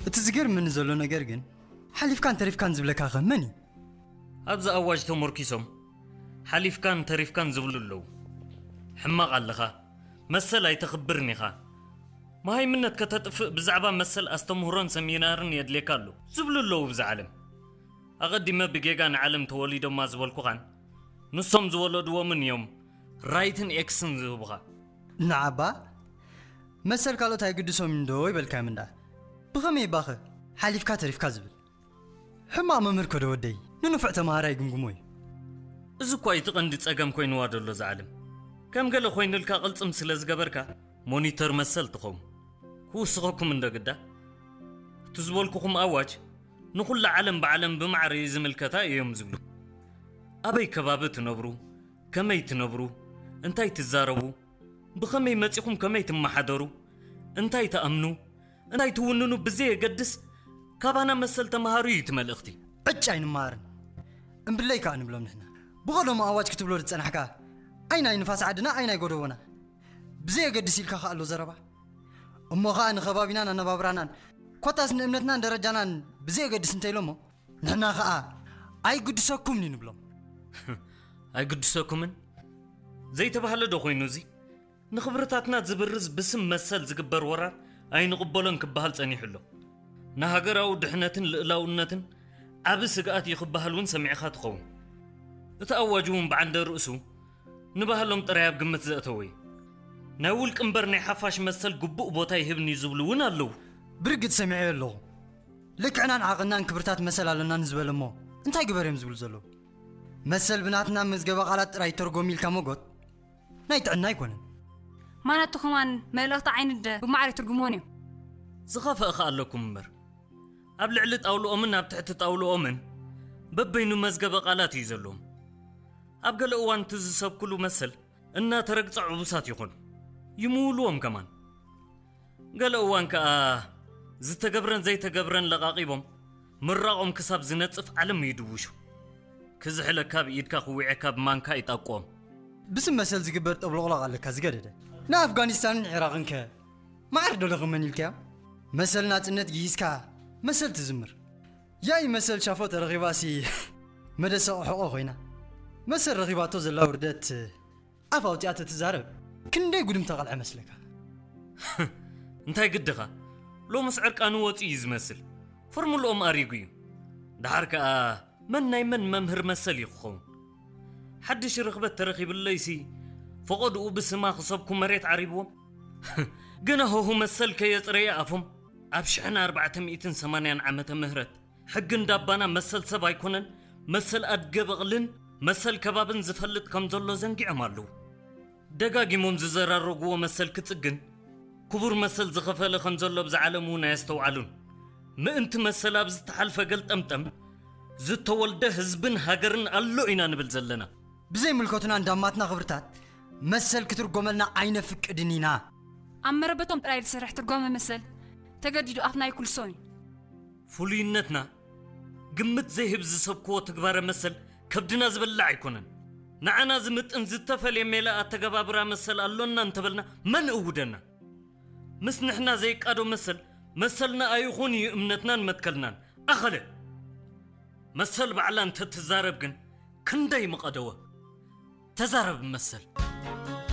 እቲ ዝገርመኒ ዘሎ ነገር ግን፣ ሓሊፍካን ተሪፍካን ዝብለካ ኸ መን እዩ? ኣብዚ ኣዋጅ ተመርኪሶም ሓሊፍካን ተሪፍካን ዝብሉ ኣለዉ። ሕማቕ ኣለኻ፣ መሰል ኣይተኽብርን ኢኻ፣ መሃይምነት ከተጥፍእ ብዛዕባ መሰል ኣስተምህሮን ሰሚናርን የድልየካ ኣሎ ዝብሉ ኣለዉ። ብዛ ዓለም ኣቐዲመ ብጌጋ ንዓለም ተወሊዶማ ዝበልኩኻን ንሶም ዝወለድዎምን እዮም ራይትን ኤክስን ዝህቡኻ። ንዓባ መሰል ካልኦት ኣይግድሶም እንዶ ይበልካ ምንዳ። ብኸመይ ባኸ ሓሊፍካ ተሪፍካ ዝብል? ሕማቕ መምህር ከዶ ወደይ፣ ንንፉዕ ተማሃራይ ግምግሞ እዩ። እዚ እኳ እቲ ቀንዲ ጸገም ኮይንዋ ዘሎ እዛ ዓለም። ከም ገለ ኮይኑልካ ቅልጽም ስለ ዝገበርካ ሞኒተር መሰል ትኸውን። ክውስኸኩም እንዶ ግዳ፣ እቲ ዝበልኩኹም ኣዋጅ ንኹላ ዓለም ብዓለም ብማዕረ እዩ ዝምልከታ እዮም ዝብሉ። ኣበይ ከባቢ ትነብሩ፣ ከመይ ትነብሩ፣ እንታይ ትዛረቡ፣ ብኸመይ መጺኹም ከመይ ትመሓደሩ፣ እንታይ ትኣምኑ፣ እንታይ ትውንኑ ብዘየገድስ፣ ካባና መሰል ተምሃሩ እዩ እቲ መልእኽቲ። ዕጭ ኣይንመሃርን እምብለይ ከኣ ንብሎም ንሕና። ብቐደሙ ኣዋጅ ክትብሎ ዝጸናሕካ፣ ኣይ ናይ ንፋስ ዓድና ኣይ ናይ ጎደቦና ብዘየገድስ ኢልካ ከኣ ኣሎ ዘረባ። እሞ ኸኣ ንኸባቢናን ኣነባብራናን ኮታስ ንእምነትናን ደረጃናን ብዘየገድስ እንተኢሎሞ፣ ንሕና ኸኣ ኣይግድሰኩምን እዩ ንብሎም። ኣይግድሰኩምን ዘይተባህለ ዶ ኮይኑ እዚ? ንኽብርታትና ዝብርዝ ብስም መሰል ዝግበር ወራር ኣይንቕበሎን ክበሃል ጸኒሑ ኣሎ። ንሃገራዊ ድሕነትን ልእላውነትን ዓቢ ስግኣት እዩ ክበሃል እውን ሰሚዕኻ ትኸውን። እቲ ኣዋጅ እውን ብዓንደ ርእሱ ንባህሎም ጥራይ ኣብ ግምት ዘእተወ እዩ። ናይ ውልቂ እምበር ናይ ሓፋሽ መሰል ግቡእ ቦታ ይህብን እዩ ዝብሉ እውን ኣለዉ። ብርግጽ ሰሚዐዮ ኣለኹ። ልክዕናን ዓቕናን ክብርታት መሰል ኣለና ንዝበለ እሞ እንታይ ግበር እዮም ዝብሉ ዘለዉ? መሰል ብናትና መዝገበ ቃላት ጥራይ ይተርጎም ኢልካ መጎት ናይ ጥዕና ኣይኮነን። ማናቱ ከማን መልእኽቲ ዓይንደ ብማዕረ ትርጉምዎን እዮም። ዝኸፈእ ከኣ ኣለኩም እምበር ኣብ ልዕሊ ጣውልኦምን ኣብ ትሕቲ ጣውልኦምን በበይኑ መዝገበ ቃላት እዩ ዘለዎም። ኣብ ገለ እዋን እቲ ዝሰብክሉ መሰል እናተረግጸ ዕቡሳት ይኾኑ፣ ይምውልዎም ከማን። ገለ እዋን ከኣ ዝተገብረን ዘይተገብረን ለቓቒቦም ምራቖም ክሳብ ዝነጽፍ ዓለም ይድውሹ። ክዝሕለካ ብኢድካ ክዊዐካ ብማንካ ይጣቆም። ብስም መሰል ዝግበር ጠብሎቕሎቕ ኣለካ ዝገደደ። ንኣፍጋኒስታንን ዒራቕን ከ ማዕር ዶ ለኽመን ኢልካዮ? መሰል ናጽነት ግሂስካ መሰል ትዝምር። ያይ መሰል ሻፎ ተረኺባሲ መደሰቕ ሕቖ ኮይና። መሰል ረኺባቶ ዘላ ውርደት ኣፍ ኣውጺኣ ተትዛረብ ክንደይ ጉድም ተቐልዐ መስለካ? እንታይ ግድኻ? ሎምስ ዕርቃኑ ወጺኡ እዩ ዝመስል። ፎርሙልኦም ኣሪጉ እዩ። ደሓር ከኣ መን ናይ መን መምህር መሰል እዩ ክኸውን? ሓድሽ ርኽበት ተረኺብለይሲ ፈቐድኡ ብስማ ክሰብኩ መሬት ዓሪብዎም። ገና ሆሁ መሰል ከየጽረየ ኣፎም ኣብ ሽሕን ኣርባዕተ ሚእትን ሰማንያን ዓመተ ምህረት ሕጊ እንዳባና መሰል ሰብ ኣይኮነን፣ መሰል ኣድገ በቕልን መሰል ከባብን ዝፈልጥ ከም ዘሎ ዘንጊዖም ኣለዉ። ደጋጊሞም ዝዘራረግዎ መሰል ክጽግን ክቡር መሰል ዝኸፈለ ከም ዘሎ ብዛ ዓለም እውን ኣየስተውዓሉን። ምእንቲ መሰል ኣብ ዝተሓልፈ ገልጠምጠም ዝተወልደ ህዝብን ሃገርን ኣሎ ኢና ንብል ዘለና። ብዘይምልከቱና እንዳማትና ክብርታት መሰል ክትርጎመልና ኣይነፍቅድን ኢና። ኣብ መረበቶም ጥራይ ዝሰርሕ ትርጓመ መሰል ተገዲዱ ኣፍና ይኩልሶን እዩ። ፍሉይነትና ግምት ዘይህብ ዝሰብክዎ ትግባረ መሰል ከብድና ዝበልዕ ኣይኮነን። ንዓና ዝምጥን ዝተፈልየ ሜላ ኣተገባብራ መሰል ኣሎና እንተበልና መን እውደና? ምስ ንሕና ዘይቃዶ መሰል መሰልና ኣይኹን እዩ እምነትናን መትከልናን። ኣኸለ መሰል ባዕላ እንተትዛረብ ግን ክንደይ ምቐደወ። ተዛረብ መሰል።